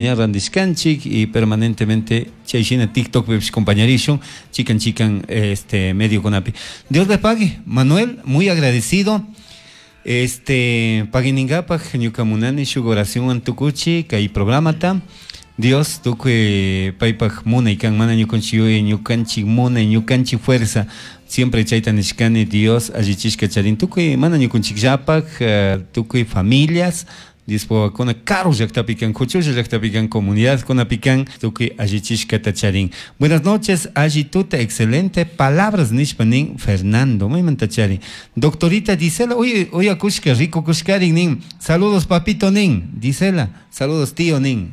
Ña randishkanchik y permanentemente chay shina TikTokpipish compañarishun chikan chikan este mediokunapi. Dios les pague. Manuel, muy agradecido. Este pagui ningapak ñuka munani shuk oracionwan tukuchi kay programata. Dios tukuy paypak munay kan mana ñukanchik yuyay ñukanchik munay ñukanchik fuerza siempre chayta nishkani Dios allichishka charin tukuy mana ñukanchikllapak tukuy familias Diospa wawakuna karu llaktapi kan, kuchulla llaktapi kan, comunidadkunapi kan, tukuy allichishkata charin. Buenas noches, alli tuta, excelente palabras nishpa nin Fernando, maymanta charin. Doctorita Gisela, uy, uyakushka, rikukushkarin nin. Saludos papito nin, Gisela, saludos tío nin.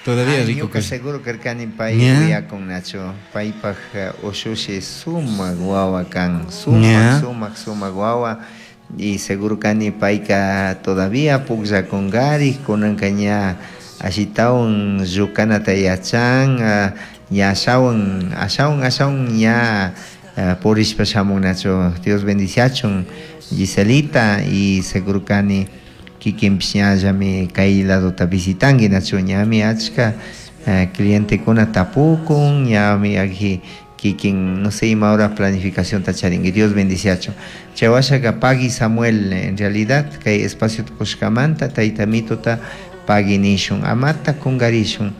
Todavía Ay, rico ñuka kush- seguro karkani pay Ña. uyakun nachu paypaj ushushi sumak wawa kan sumak Ña. sumak sumak wawa y seguro kani payka todavía pukllakunkari kunanka ña ashitawan llukanata yachan ña ashawan ashawan ashawan ña purishpa shamun nachu. Dios bendiciachun Giselita y seguro kani kikinpish ñallami kay ladota visitanki nachu ñami achka clientekuna tapukun ñami aji kikin no sé ima hora planificacionta charinki. Dios bendiciachun. Chay washaka pagui Samuel, en realidad kay espacio kushkamanta tayta mituta pagui nishun amata kungarishun.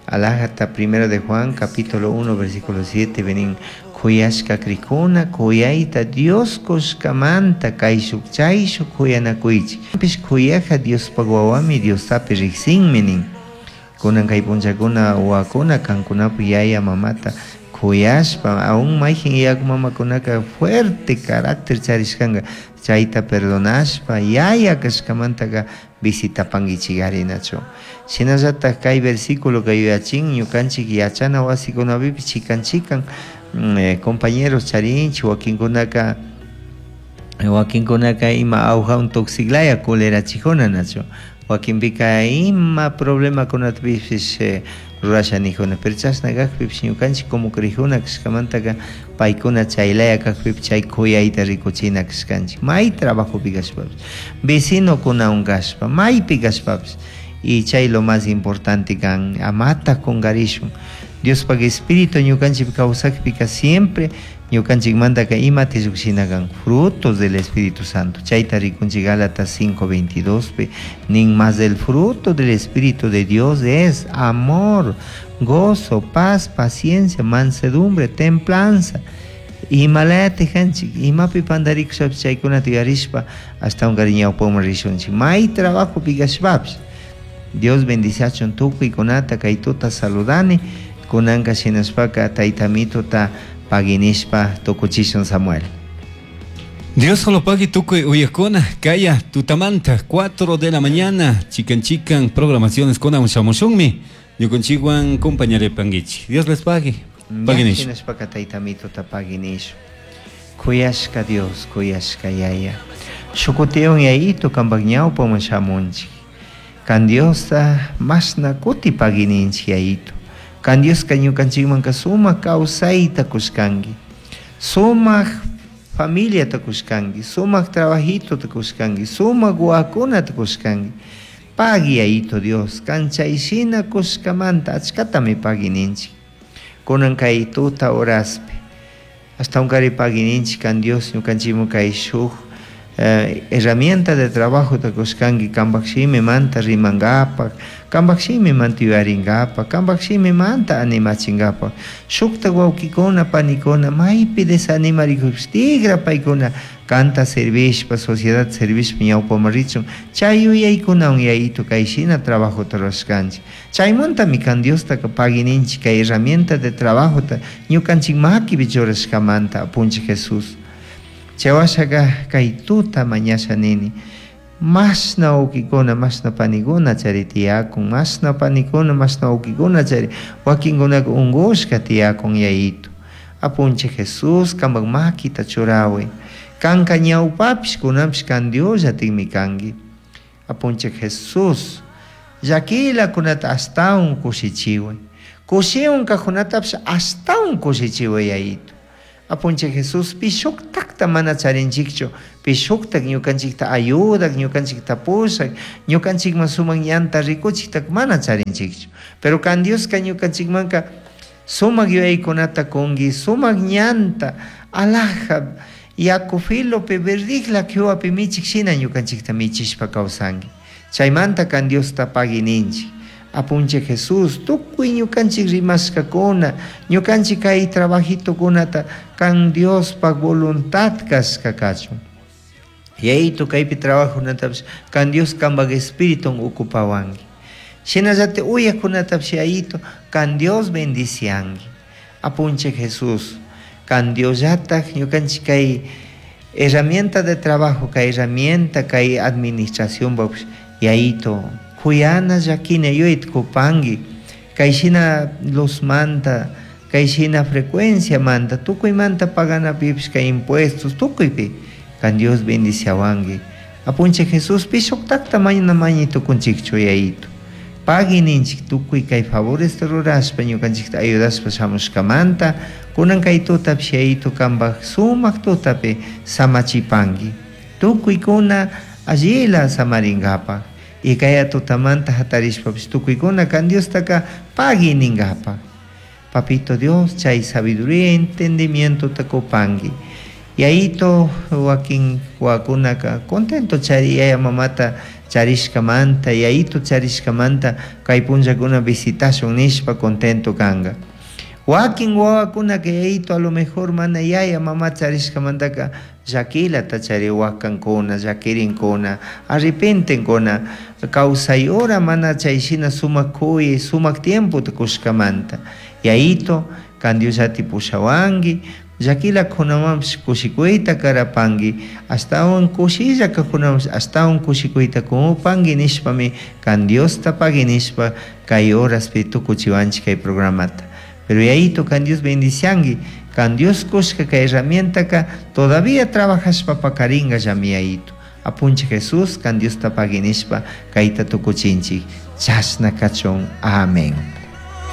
Alajata primero de Juan capítulo 1 versículo 7 venin kuyashka krikuna kuyayta Dios kushkamanta kayshuk chayshuk kuyanakuychik. Pish kuyaja Diospaq wawami Diostapi riqsinmi nin. Kunan kay punchakuna wawakuna kankunapi yaya mamata kuyashpa aún mayjin yaku mamakunaka fuerte carácter charishkanka chayta perdonashpa yaya kashkamantaka visitapankichik nachu. Shinallatak kay versículo kay yuyachin ñukanchik yachana wasikunapipish chikan chikan compañeros charinchik wakinkunaka wakinkunaka ima awjawan tuksiklaya culerachijuna nachu wakinpika ima problemakunatapish rurasha nijuna pero chashna kakpipish ñukanchik como crijuna kashkamantaka paykuna chaylaya kakpipish chay kuyayta rikuchina kashkanchik may trabajopi kashpapish vecinokunawan kashpa maypi kashpapish y chay lo más importante kan amata kungarishun Diospaq espíritu ñukanchik kawsakpika siempre ñukanchikmantaka imata lluqshina kan frutos del Espíritu Santo chayta rikunchik Gálatas 5:22 pi nin más del fruto del Espíritu de Dios es amor, gozo, paz, paciencia, mansedumbre, templanza. Imalayati kanchik imapi pandarikushpapish chaykunata yuyarishpa ashtawankarin ñawpaman rishunchik may trabajopi kashpapish. Dios bendiciachun tukuykunata kay tuta saludani kunanka shinashpaka tayta mituta paginishpa tukuchishun Samuel. Dios solo pagui tukuy uyakuna, kaya tutamanta 4 de la mañana, chican chican programaciones con shamushunmi, ñukanchikwan compañere panguichi. Dios les pague. Pagui nish. Shinashpaka tayta mituta pagui nish. Kuyashka Dios, kuyashka yaya. Shukutiwan yayito kanpak ñawpaman shamunchik. Kan Diosta mashna kuti pagininchik yayito. Kan Dioska ñukanchikmanka sumak kawsayta kushkanki. Sumak familiata kushkanki, sumak trabajitota kushkanki, sumak wawakunata kushkanki. Pagui yayito Dios, kan chayshina kushkamanta achkatami pagui ninchik. Kunan kay tuta horaspi. Ashtawankari pagui ninchik kan Dios ñukanchikman kay shuk herramienta de trabajo ta kushkanki kanpak shimimanta rimankapak, kanpak shimimanta yuyarinkapak, kanpak shimimanta animachinkapak. Shukta wawkikuna panikuna maypi desanimarikushpa tigra paykuna kanta servishpa, sociedad servishpa ñawpaman richun chay yuyaykunawan yayito kayshina trabajota rurashkanchik. Chaymantami kan Diostaka pagui ninchik kay herramienta de trabajota ñukanchik makipi churashkamanta apunchik Jesús. Chay washaka kay tuta mañasha nini mashna wawkikuna mashna panikuna chari tiyakun mashna panikuna mashna wawkikuna chari wakinkunaka unkushka tiyakun yayito. Apunchik Jesús kanpak makita churaway kanka ñawpapish kunanpish kan Diosllatikmi kanki. Apunchik Jesús llakilakunata ashtawan kushichiway kushiwan kajkunatapish ashtawan kushichiway yayito. Apunchik Jesús pi shuktakta shuktakta mana charinchikchu, pi shuktak ñukanchikta ayudak, ñukanchikta pushak, ñukanchikman sumak ñanta rikuchiktak mana charinchikchu. Pero kan Dioska ñukanchikmanka sumak yuyaykunata kunki, sumak ñanta, alaja, yaku filopi, verdijla kiwapi michik shina ñukanchikta michishpa kawsanki. Chaymanta kan Diosta pagui ninchik. Apunchik Jesús, tukuy ñukanchik rimashkakuna, ñukanchik kay trabajitokunata kan Diospak voluntad kashka kachun. Yayito kaypi trabajunatapish kan Dios kanpak espiritun ocupawanki. Shinallatik uyakunatapish yayito kan Dios bendicianki. Apunchik Jesús, kan Diosllatak ñukanchik kay herramienta de trabajo, kay herramienta, kay administración yayito kuyana llakina yuyayta kupanki, kay shina luzmanta, kay shina frecuenciamanta, tukuymanta paganapipish kay impuestos tukuypi kan Dios bendiciawanki. Apunchik Jesús pi shuktakta mañana mañay tukunchikchu yayito. Pagui ninchik tukuy kay favoresta rurashpa ñukanchikta ayudashpa shamushkamanta, kunan kay tutapish yayito kanpak sumak tutapi samachipanki. Tukuykuna allila samarinkapak. Y kaya tutamanta hatarishpapish tukuykuna kan Diostaka pagui ninkapak. Papito Dios, chay sabiduría entendimiento kupanki. Yayito wakin wawakunaka contento chari yaya mamata charishkamanta, yayito charishkamanta kay punllakuna visitashun nishpa contento kanka. Wakin wawakunaka yayito a lo mejor mana yaya mama charishkamantaka llakilata chari wakankuna, llakirinkuna, arrepentenkuna, kawsay hora mana chay shina sumak kuyay, sumak tiempota kushkamanta. Yayito, kan Diosllati pushawanki, llakila kunamanpish kushikuyta karapanki, ashtawan kushilla kakunamanpish ashtawan kushikuyta kumupanki nishpami kan Diosta pagui nishpa kay horaspi tukuchiwanchik kay programata. Pero yayito kan Dios bendicianki, kan Dios kushka kay herramientaka todavía trabajashpa pakarinka llami yayito. Apunchik Jesús kan Diosta pagui nishpa kayta tukuchinchik. Chashna kachun. Amén.